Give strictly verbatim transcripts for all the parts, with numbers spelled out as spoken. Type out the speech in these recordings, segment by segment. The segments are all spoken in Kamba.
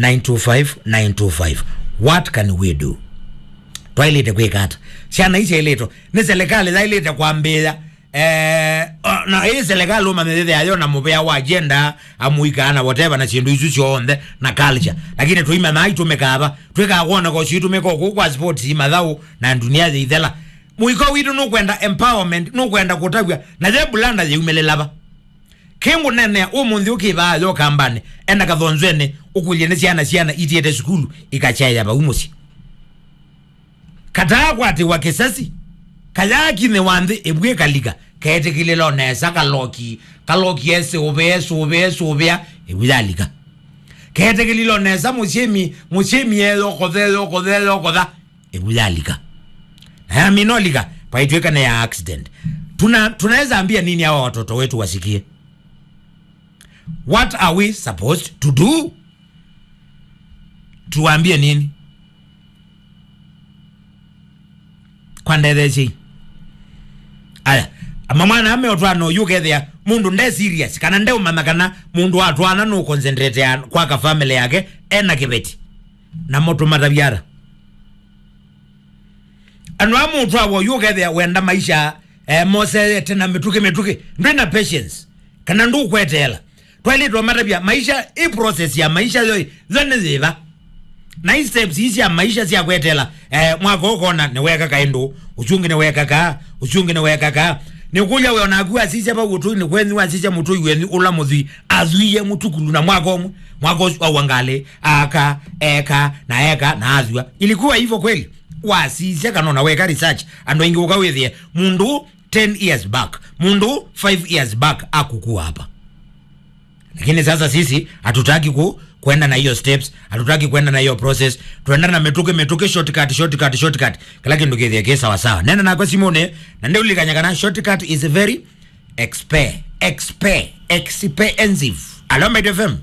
nine two five, nine two five. What can we do? Twaĩlĩte kwĩka ata? Syana ici syaĩlĩtwe nĩ serikali yaĩlĩte kwambĩĩa. Eh, o, na ĩĩ serikali ũmanyĩthĩthĩa yo na mũvea wa agenda, amũikaa na whatever na syĩndũ isu syonthe na culture. Lakini tũimanya itũmĩkaa va. Twĩkaa kwona ko citũmĩka kũu kwa sports, mathaũ na dunia yĩithela. Mũiko witũ nũkwenda empowerment, nũkwenda kũtavw'a, na ye bulanda yĩumĩlĩla va. Kĩngũnenea ũmũnthĩ ũkĩvaa yo kambanĩ, enda kathonzwenĩ, ũkũlye nĩ syana, syana itiĩte sukulu, ikakyaĩa vau mũsyĩ. Kataa kwatĩwa kĩsasi, kayakinĩwa nthĩ ĩvu ĩkalika, ketĩkĩlĩlo nesa, kaloki, kaloki esũvĩa, esũvĩa, esũvĩa, ĩvu yalika. Ketĩkĩlĩlo nesa, mũsyĩmi, mũsyĩmi eyokotha, eyokotha, eyokotha, ĩvu yalika. Na yamina ũlika, vaitw'ĩka nĩ ya accident. Tuna, tunaweza ambia nini hawa watoto wetu wasikie? What are we supposed to do? Tuwaambie nini? Kwa ndethesyei. Aya, ama mwana ame ũtwana ũyu ũkethĩa mũndũ nde serious, kana ndeũmanya kana mũndũ wa twana nũ concentrate ya kwaka family yake ena kĩveti. Namo tũmatavyara. Andũ amwe ũtwawa ũyu ũkethĩa wenda maisha, eh, moseete na mĩtũkĩ mĩtũkĩ. Ndwĩ na patience. Kana ndũkweteela. Twaĩlĩtwe matavya maisha, ĩ process ya maisha yo, yo nĩ yĩva. Na i steps ii sya maisha sya kweteela, eh, mwaka ũkona nĩweka kaĩndũ, ũsu ũngĩ nĩweka kaa, ũsu ũngĩ nĩweka kaa. Nĩkũlya we onaku wasisya vau ũtũinĩ kwenyu, wasisya mũtũi wenyu ũla mũthwii, athwie mũtukulu na mwaka ũmwe, mwaka ũsu aua ngalĩ, aka, eka, na eka, na athwa. Ilikuwa hivyo kweli? Wasisya kana ona weka research, andũ aingĩ ũka wĩthĩe, mũndũ ten years back, mũndũ five years back akukua hapa. Lakini sasa sisi hatutaki ku, kuenda na hiyo steps, hatutaki kuenda na hiyo process. Tuenda na mĩtũkĩ, mĩtũkĩ, shortcut, shortcut, shortcut. Kĩla kĩndũ kĩthĩe kĩ sawa sawa. Nena nakwa simũnĩ, na nĩũlilikanya kana shortcut is very expe-, expe-, expensive. Alo, Mbaitu F M.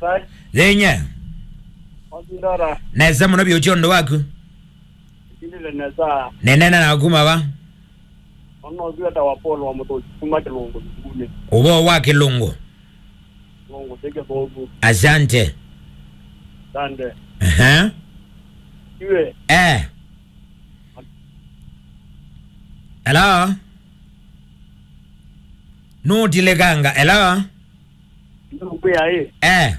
Sai. Yenye. Wazindara. Nesa mũno biũ, ũtĩ ũndũ waku. Ndile nesa. Nenena na kuma va? Ono ũthiwa ta wa Paul wa Mũtũsi kuma Kĩlũngũ thukunĩ. Ũvoo wa Kĩlũngũ. Kĩlũngũ ti kĩthũku. Asante. Asante. Ehe. Iwe. Eh. Hello? Nũtilĩkanga. Hello? Nũkwĩa ĩ. Eh.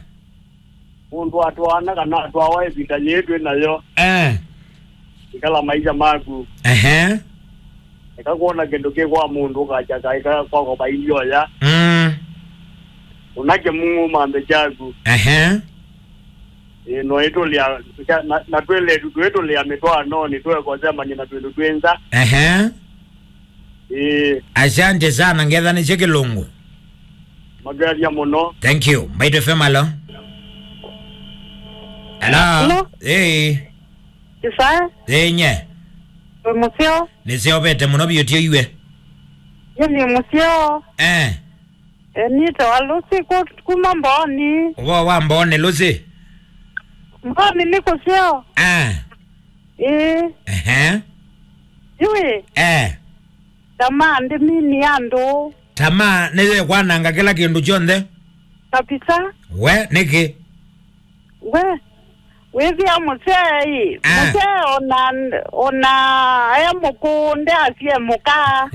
Mũndũ atwaana kana atwawa ĩvinda yĩĩ twĩ nayo. Eh. Ikala maisha maku. Ehe. Eka kwona kĩndũ kĩ kwa mũndũ ũkakya kaĩ ka kwako vailyoya. Mm. Ũnake Mũmũũ mambe kyaku. Ehe. Ĩĩ, no ĩtũlĩa, na, na twĩletu twĩtũlĩa mĩtwaanonĩ, tũekosea manyina twĩndũ twĩ nza. Ehe. Ĩĩ. Asante sana, ngethanĩsye Kĩlũngũ. Mageria mũno. Thank you. Mbaitu F M, alo. Hello. Hello. Hey. Isaya. Hey, nye. Wĩ mũseo? Nĩseũvĩte mũno vyũ, tyo iwe. Ye nĩ mũseo. Eh. E, nĩtawa Lucy ku-, kuma Mbooni. Ũvoo wa Mbooni, Lucy? Mbooni nĩ kũseo. Ah. Ĩĩ. Ehe. Yũĩ. Eh. Tamaa ndĩmini andũ. Tamaa nĩyo ĩkwananga kĩla kĩndũ kyonthe. Kabisa. We, nĩkĩ? We, wĩthĩa mũsee ĩ, ah, mũsee ona, ona e mũkũũ ndeasye mũka.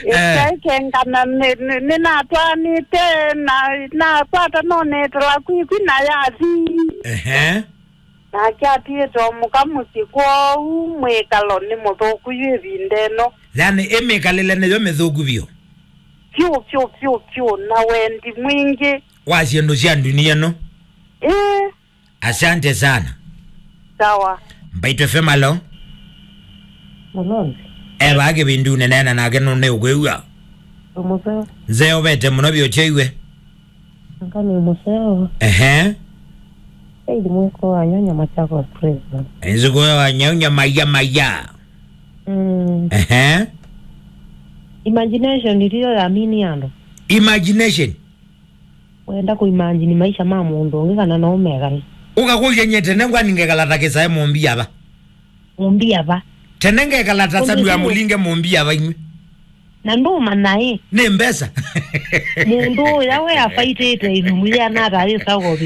Eh. Ĩkengana nĩ, nĩ, nĩnatwaanĩte, na, nakwata nonetela kwikwi na yathi. Ehe. Nake atiĩte o mũka mũsyĩ kwoou mwĩkalo nĩ mũthũku yu ĩvinda ĩno. Yani, ĩ mĩkalĩle nĩyo mĩthũku vyũ. Vyũ, vyũ, vyũ, vyũ, na wendi mwingĩ. Wa syĩndũ sya ndunia ĩno. Ĩĩ. Asante sana. Sawa. Mbaitu F M, alo. Malonzi. Eva kĩvindunĩ, neena nake nũnĩũkwĩw'a. Ũmũseo. Nzeovete mũno vyũ, kyaiwe. Anga nĩ mũseo. Ehe. Saidi mwĩko wa nyonya Machakos Prison. Nziko wa nyonya maya maya. Mm. Ehe. Imagination ndiyo yamini andũ. Imagination. Wenda kũimagine maisha ma mũndũ ũngĩ kana no ũmekale. Ũkakũlya nye tene ngwani ngekala ta kĩsae mũmbi ava. Mũmbi ava. Tene ngekala ta Samuel Mũlinge mũmbi ava imwe. Na ndũmanya ĩ. Nĩ mbesa. Mũndũ ũya we afaitĩte ĩnumu yĩana ata ĩsa ũkothi.